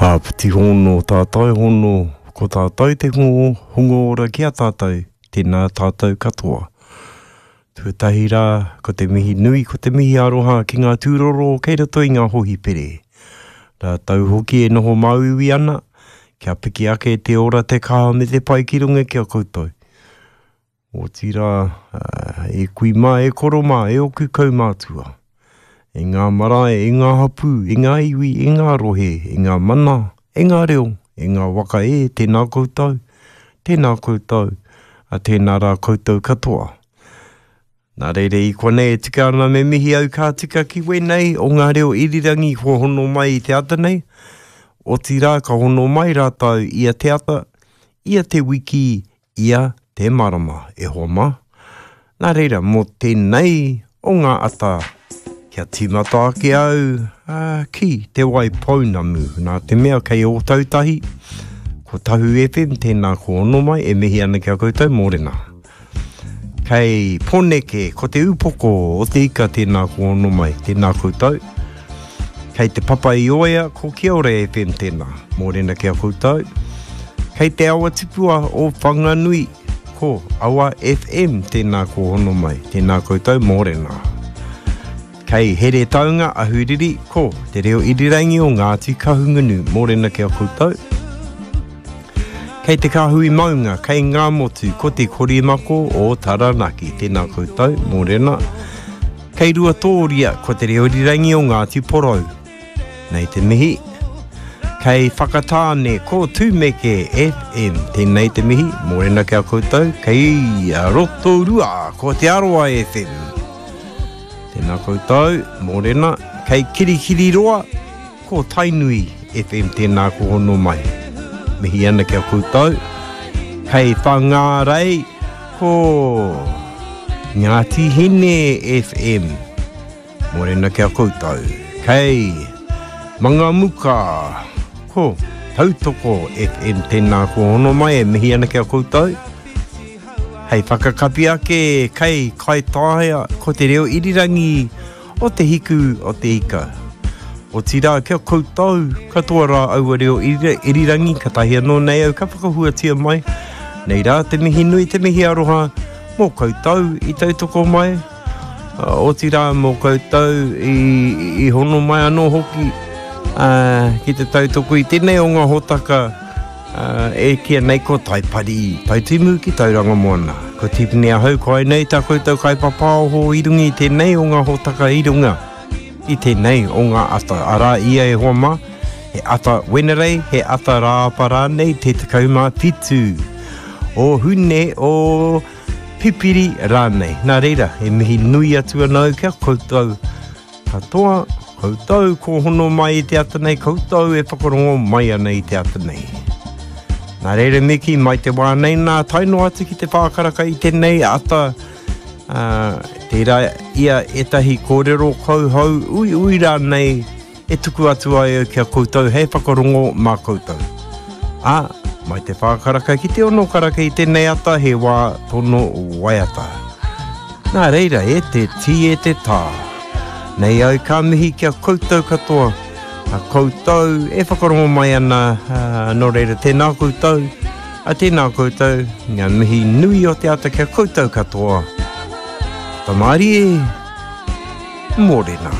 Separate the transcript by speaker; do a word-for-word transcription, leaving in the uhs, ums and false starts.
Speaker 1: Āpiti hono tātou hono, ko tātou te hongo, hongo ora ki a tātou, tēnā tātou katoa. Tuatahi rā, ko te mihi nui, ko te mihi aroha ki ngā tūroro kei roto i ngā hohipere. Rātou hoki e noho māuiui ana, kia piki ake te ora te kaha me te pai ki runga ki a koutou. Otirā, e kui mā, e koro mā, e oku kaumātua. E ngā marae, e ngā hapū, e ngā iwi, e ngā rohe, e ngā mana, e ngā reo, e ngā waka e, tēnā koutou, tēnā koutou, a tēnā rā koutou katoa. Nā reira i konei e tika ana me mihi au ka tika ki wēnei o ngā reo irirangi kua hono mai i te ata nei, otirā ka hono mai rātou ia te ata, ia te wiki, ia te marama, e hoa mā. Nā reira, mō tēnei o ngā ata, kia tīmata ake au uh, ki Te Waipounamu. Nā te mea kei Ōtautahi, ko Tahu F M, tēnā ko ono mai, e mihi ana ki a koutou, mōrena. Kei Poneke, ko te upoko o te ika, tēnā ko ono mai, tēnā koutou. Kei Te Papa i Oea, ko Kia Ora F M tēnā, mōrena ki a koutou. Kei Te Awa Tipua o Whanganui, ko Awa F M tēnā ko hono mai, tēnā koutou, mōrena. Kei Heretaunga, Ahuriri, ko Te Reo Irirangi o Ngāti Kahungunu, mōrena ki a koutou. Kei Te Kāhui Maunga, kei Ngāmotu, ko Te Korimako o Taranaki, tēnā koutou, mōrena. Kei Ruatōria, ko Te Reo Irirangi o Ngāti Porou, nei te mihi. Kei Whakatāne, ko Tūmeke F M, tēnei te mihi, mōrena ki a koutou. Kei Rotorua, ko Te Arawa F M, tēnā koutou, mōrena. Kei Kirikiriroa, ko Tainui F M, tēnā ko hono mai. Mihi ana ki a koutou. Kei Whangārei, ko Ngāti Hine F M, mōrena ki a koutou. Kei Mangamuka, ko Tautoko F M, tēnā ko hono mai, e mihi ana ki a koutou. Hei whakakapi ake, kei Kaitaia, ko Te Reo Irirangi o te hiku o te ika. Otirā, kia koutou, katoa rā aua reo irirangi, katahi anō nei au ka whakahuatia mai. Nei rā te mihi nui, te mihi aroha, mō koutou i tautoko mai. Otirā, mō koutou i, i hono mai anō hoki uh, ki te tautoko i tēnei o ngā hōtaka uh, e kia nei ko Taipari, Taitimu ki Tauranga Moana. Ko Tipene ahau, ko ai nei tā koutou kaipapāoho i runga i tēnei o ngā hōtaka i runga i tēnei o ngā ata. Arā ia e hoa mā, he ata Wenerei, he ata rāapa rānei, te tekau mā whitu o Hune o Pipiri rānei. Nā reira, e mihi nui atu ana au kia koutou katoa, koutou ko hono mai i te ata nei, koutou e whakarongo mai ana i te ata nei. Nā reira miki, mai te wā nei nā, tae noa atu ki te whākaraka i tēnei ata, uh, tērā ia ētahi kōrero kauhau ui ui rānei e tuku atu ai au kia koutou hei whakarongo mā koutou. Ā, mai te whākaraka ki te ono karaka i tēnei ata he wā tono waiata. Nā reira, e te tī e te tā. Nei au ka mihi kia koutou katoa, a koutou e whakarongo mai ana, uh, nō reira tēnā koutou, a tēnā koutou, ngā mihi nui o te ata kia koutou katoa. Tamari e, mōrena.